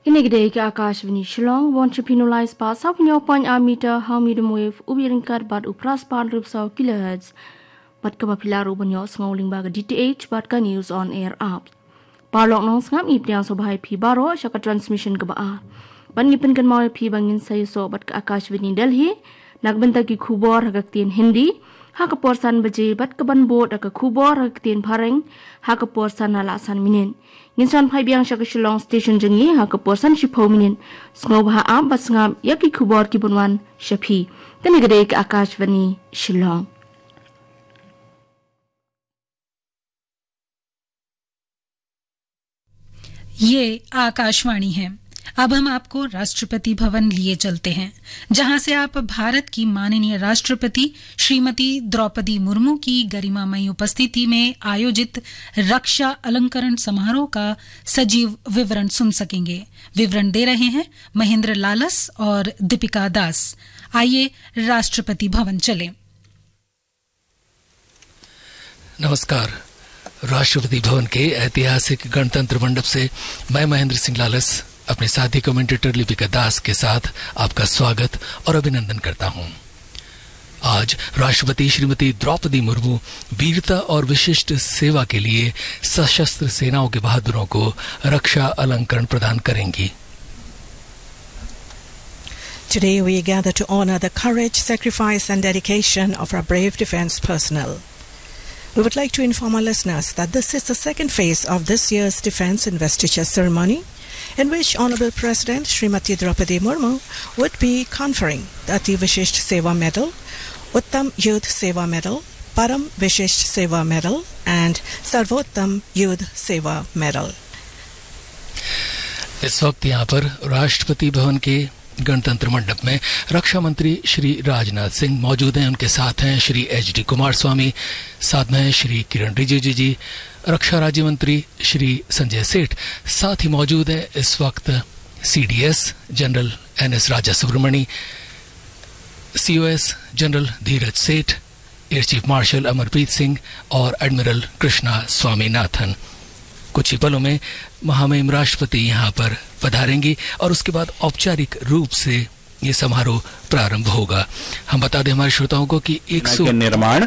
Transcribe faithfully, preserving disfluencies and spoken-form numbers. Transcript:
Kine ki dei ki Akashvani Shillong, wan sha phi nulai spah saw phew point ar meter ha u medium wave u ryngkat bad u phra spah hynriew saw kilohertz. Bad kaba phi lah ruh ban ïoh sngew lyngba ka D T H bad ka News on Air app. Paralok nongsngap, ngi pdiang sngewbha ïa phi baroh sha ka transmission kaba ar. Bad ngi pynkynmaw ïa phi ba ngin sa ïasoh bad ka Akashvani Delhi na ka bynta ki khubor ha ka ktien Hindi ha ka por san baje bad ka ban bud ha ka khubor ha ka ktien Phareng ha ka por san na la san minit. Ngin sa phai biang sha ka Shillong station jong ngi ha ka por san shiphew minit. Sngewbha ap bad sngap ïa ki khubor ki ban wan sha phi. Kane ka dei ka Akashvani Shillong. ये आकाशवाणी है। अब हम आपको राष्ट्रपति भवन लिए चलते हैं, जहां से आप भारत की माननीय राष्ट्रपति श्रीमती द्रौपदी मुर्मू की गरिमामयी उपस्थिति में आयोजित रक्षा अलंकरण समारोह का सजीव विवरण सुन सकेंगे। विवरण दे रहे हैं महेंद्र लालस और दीपिका दास। आइए, राष्ट्रपति भवन चलें। नमस्कार। राष्ट्रपति भवन के ऐतिहासिक गणतंत्र मंडप से मैं महेंद्र सिंह लालस अपने साथी कमेंटेटर लिपिका दास के साथ आपका स्वागत और अभिनंदन करता हूं। आज राष्ट्रपति श्रीमती द्रौपदी मुर्मू वीरता और विशिष्ट सेवा के लिए सशस्त्र सेनाओं के बहादुरों को रक्षा अलंकरण प्रदान करेंगी। Today we gather to honor the courage, sacrifice and dedication of our brave defense personnel. We would like to inform our listeners that this is the second phase of this year's Defense Investiture Ceremony, in which Honorable President Srimati Draupadi Murmu would be conferring the Ati Vishisht Seva Medal, Uttam Yudh Seva Medal, Param Vishisht Seva Medal and Sarvottam Yudh Seva Medal. इस वक्त यहाँ पर राष्ट्रपति भवन के गणतंत्र मंडप में रक्षा मंत्री श्री राजनाथ सिंह मौजूद हैं। उनके साथ हैं श्री एच डी कुमार स्वामी, साथ में हैं श्री किरण रिजिजू जी, रक्षा राज्य मंत्री श्री संजय सेठ। साथ ही मौजूद हैं इस वक्त सीडीएस जनरल एनएस राजा सुब्रमणी, सीओएस जनरल धीरज सेठ, एयर चीफ मार्शल अमरप्रीत सिंह और एडमिरल कृष्णा स्वामीनाथन। कुछ ही पलों में महामहिम राष्ट्रपति यहाँ पर पधारेंगी और उसके बाद औपचारिक रूप से ये समारोह प्रारंभ होगा। हम बता दें हमारे श्रोताओं को कि सेना एक सौ के निर्माण